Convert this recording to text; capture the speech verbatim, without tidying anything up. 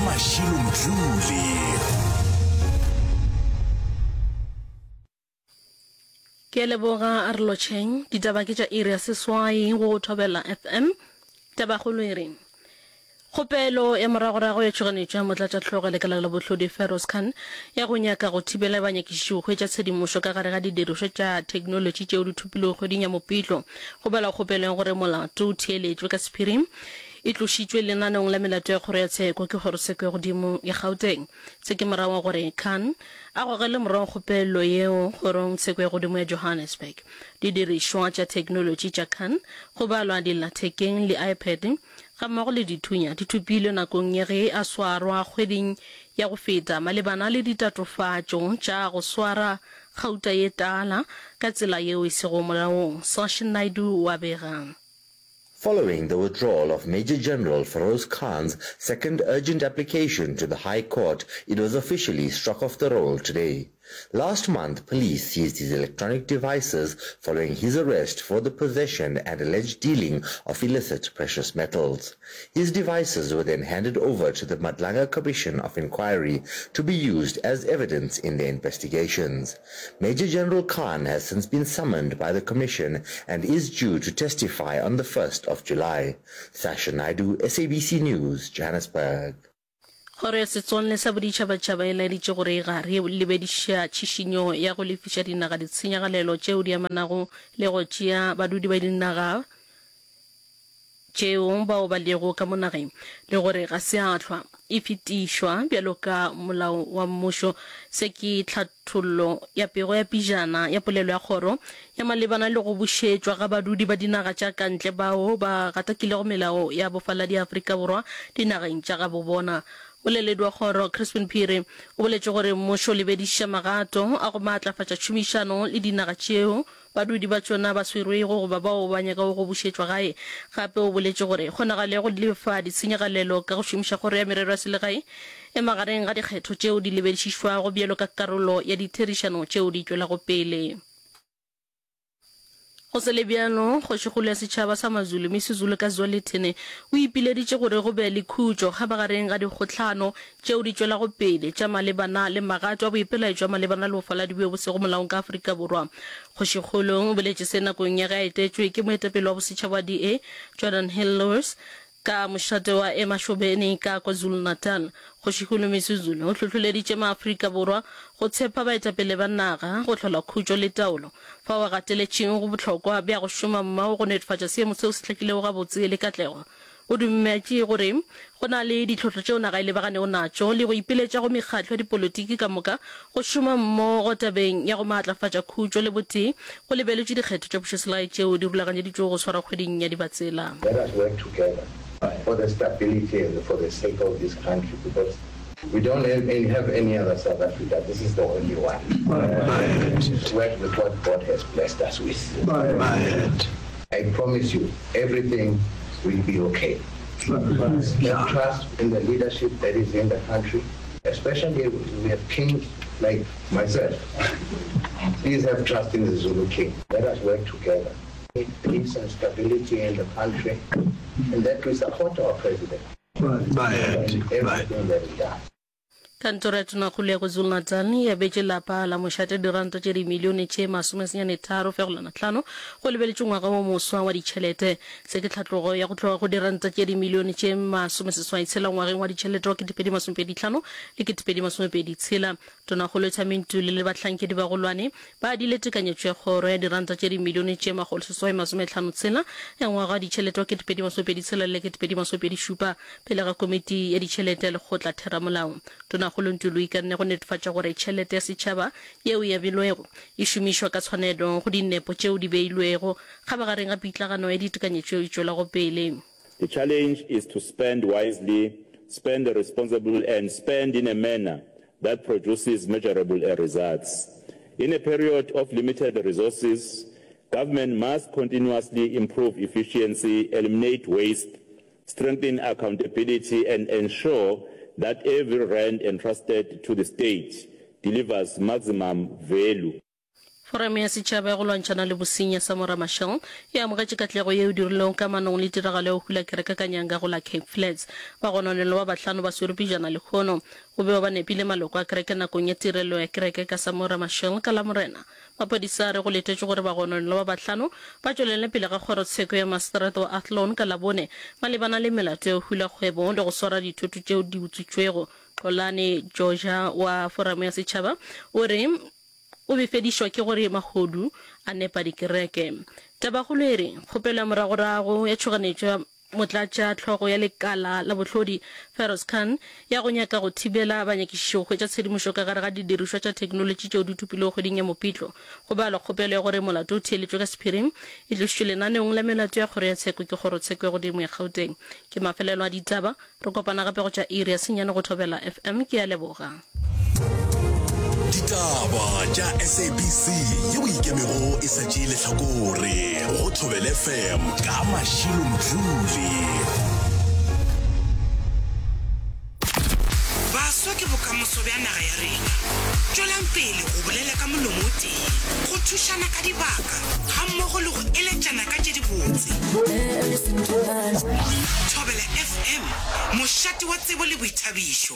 Mashilo Mdluli. Ke a leboga, a re lotšheng. Ditaba ke tša iri ya seswai go Thobela F M. Tabakgolo e re, Kgopelo ya moragorago ya tšhoganetšo ya Motlatšahlogo Lekala la Bohlodi Feroz Khan ya go nyaka go thibela banyakišiši go hwetša tshedimošo ka gare ga didirišwa tša theknolotši tšeo di thopilwego kgweding ya Mopitlo go balwa kgopelo ya gore molato o theeletšwe ka sephiring e tlošitšwe lenaneong la melato ya kgoro ya tsheko ke Kgorotsheko ya Godimo ya Gauteng. Se ke morago ga gore Khan a gogele morago kgopelo yeo kgorong tsheko ya godimo ya Johannesburg. Didirišwa tša theknolotši tša Khan, go balwa dillathekeng le iPad gammogo le dithunya, di thopilwe nakong ya ge a swarwa kgweding ya go feta malebana le ditatofatšo tša go swara gauta ye tala ka tsela yeo e sego molaong. Sashin Naidoo o a bega. Following the withdrawal of Major General Feroz Khan's second urgent application to the High Court, it was officially struck off the roll today. Last month, police seized his electronic devices following his arrest for the possession and alleged dealing of illicit precious metals. His devices were then handed over to the Madlanga Commission of Inquiry to be used as evidence in their investigations. Major General Khan has since been summoned by the commission and is due to testify on the first of July. Sasha Naidoo, S A B C News, Johannesburg. Kgoro ya Setswalle sa Boditšhabatšhaba e laeditše gore e gare e lebediša tšhišinyo ya go lefiša dinaga ditshenyagalelo tšeo di amanago le go tšea badudi ba dinaga tšeo bao ba lego ka mo nageng le gore ga se ya hlwa e fetišwa bjalo ka molao wa mmušo. Se ke tlhathollo ya pego ya pejana ya polelo ya kgoro ya malebana le go bušetšwa ga badudi ba dinaga tša ka ntle bao ba gatakilego melao ya bofaladi ya Afrika Borwa dinageng tša gabo bona. Moleledi wa kgoro, Crispin Phiri, o boletše gore mmušo o lebediša magato a go maatlafatša tšhomišano le dinaga tšeo badudi ba tšona ba swerwego goba bao ba nyakago go bušetšwa gae. Gape o boletše gore kgonagalo ya go lefa ditshenyagalelo ka go šomiša Kgoro ya Merero ya Selegae e magareng ga dikgetho tšeo di lebedišišwago bjalo ka karolo ya ditherišano tšeo di tšwelago pele. Go sa le bjalo, kgošikgolo ya setšhaba sa Mazulu, Misuzulu ka Zwelithini, o ipileditše gore go be le khutšo kgabagareng ga dikgohlano tšeo di tšwelago pele tša malebana le magato a boipelaetšo a malebana le bofaladi bjo bo sego molaong ka Afrika Borwa. Kgošikgolo o boletše se nakong ya ge a etetšwe ke moetapele wa bosetšhaba wa D A, Geordin Hill-Lewis, ka mošate wa Emashobeni ka KwaZulu-Natal. Kgošikgolo Misuzulu o hlohloleditše maAfrika Borwa go tshepa baetapele ba naga go hlola khutšo le taolo, fao a gateletšego go bohlokwa bja go šoma mmogo go netefatša seemo seo se hlakilego gabotse le katlego. O dumetše gore go na le ditlhohlo tšeo naga e lebaganego natšo le go ipiletša go mekgatlo ya dipolotiki ka moka go šoma mmogo tabeng ya go maatlafatša khutšo le botee go lebeletšwe dikgetho tša pušoselegae tšeo di rulaganyeditšwego go swarwa kgweding ya Dibatsela. Let us work together for the stability and for the sake of this country because we don't have any, have any other South Africa. This is the only one. Let's work with what God has blessed us with. I promise you, everything will be okay. Have trust in the leadership that is in the country, especially we have kings like myself. Please have trust in the Zulu king. Let us work together. Peace and stability in the country, and that we support our president in everything that he does. Kantoro ya Tonakgolo ya KwaZulu-Natal e abetše lapa la mošate diranta tše dimilione tše masomesenyane tharo fegelwana hlano go lebeletšwe ngwaga wo moswa wa ditšhelete. Se ke tlhatlogo ya go tloga go diranta tše dimilione tše masomeseswai tshela ngwageng wa ditšhelete wa ketepedi masomepedi hlano le ketepedi masomepedi tshela. Tonakgolo Thami Ntuli le bahlankedi bagolwane ba adile tekanyetšo ya kgoro ya diranta tše dimilione tše makgolo seswai masomehlano tshela ya ngwaga wa ditšhelete wa ketepedi masomepedi tshela le ketepedi masomepedi šupa pele ga komiti ya ditšhelete ya lekgotla theramolao. Tonakgolo Ntuli o ikanne go netefatša gore tšhelete ya setšhaba yeo e abilwego e šomišwa ka tshwanelo go dinepo tšeo di beilwego kgabagareng ga pitlagano ya ditekanyetšo yeo e tšwelago pele. The challenge is to spend wisely, spend responsibly and spend in a manner that produces measurable results. In a period of limited resources, government must continuously improve efficiency, eliminate waste, strengthen accountability and ensure that every rand entrusted to the state delivers maximum value. Foramo ya Setšhaba ya go Lwantšhana le Bosenyi ya Samora Machel e amogetše katlego yeo e dirilwego kamanong le tiragalo ya go hula kereke ka nyanga go la Cape Flats. Bagononelwa ba bahlano ba swerwe pejana lehono. Go bewa ba nepile maloko a kereke nakong ya tirelo ya kereke ka Samora Machel ka Lamorena. Maphodisa a re go letetšwe gore bagononelwa ba bahlano ba tšwelele pele ga kgorotsheko ya maseterata wa Athlone ka Labone malebana le melato ya go hula kgwebo le go swara dithoto tšeo di utswitšwego. Xolani Joja wa Foramo ya Setšhaba o re o befedišwa ke gore mahodu a nepa dikereke. Tabakgolo e re, Kgopelo ya moragorago ya tšhoganetšo ya motlatša hlogo ya lekala la bohlodi Feroz Khan ya go nyaka go thibela banyakišiši go hwetša tshedimošo ka gare ga didirišwa tša theknolotši tšeo di thopilwego kgweding ya Mopitlo go balwa kgopelo ya gore molato o theeletšwe ka sephiring e tlošitšwe lenaneong la melato ya kgoro ya tsheko ke Kgorotsheko ya Godimo ya Gauteng. Ke mafelelo a ditaba. Re kopana gape go tša iri ya senyane go Thobela F M. Ke a leboga. Ditaba tša S A B C yeo e ikemego e sa tšee lehlakore go Thobela F M ka Mashilo Mdluli. Baswa ke bokamoso bja naga ya rena. Tšwelang pele go bolela ka molomo o tee, go thušana ka dibaka gammogo le go eletšana ka tše dibotse. Thobela F M, mošate wa tsebo le boithabišo.